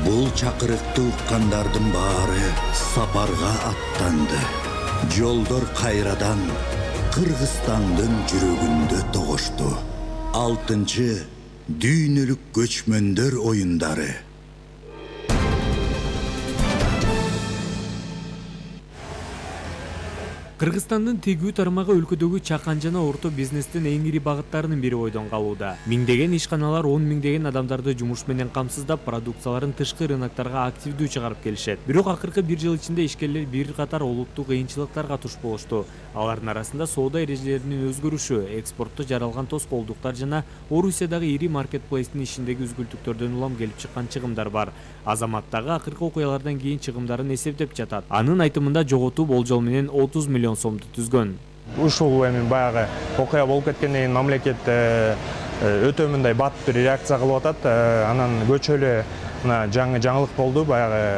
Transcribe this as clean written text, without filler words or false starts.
Бул чакырыкты уккандардын баары сапарга аттанды. Жолдор кайрадан Кыргызстандын жүрөгүндө тогошту. 6-чы дүйнөлүк көчмөндөр оюндары. Кыргызстандын тегүү тармагы өлкөдөгү чакан жана орто бизнестин эң ири багыттарынын бири бойдон калууда. Миңдеген ишканалар 10 миңдеген адамдарды жумуш менен камсыздап, продукцияларын тышкы рыноктарга активдүү чыгарып келишет. Бирок акыркы 1 жыл ичинде ишкерлер бир катар олуттуу кыйынчылыктарга туш болушту. Алардын арасында соода эрежелеринин өзгөрүшү, экспортто жаралган тоскоолдуктар жана Орусиядагы ири маркетплейстин ишиндеги үзгүлтүктөрдөн улам келип чыккан чыгымдар бар. Азамат дагы акыркы окуялардан кийин чыгымдарын эсептеп жатат. Анын айтымында жоготуу болжол менен 30 миллион сомду түзгөн. Ушул эми баягы окуя болуп кеткенден кийин мамлекет өтө мындай бат бир реакция кылып атат. Анан көчөлө мына жаңылык болду. Баягы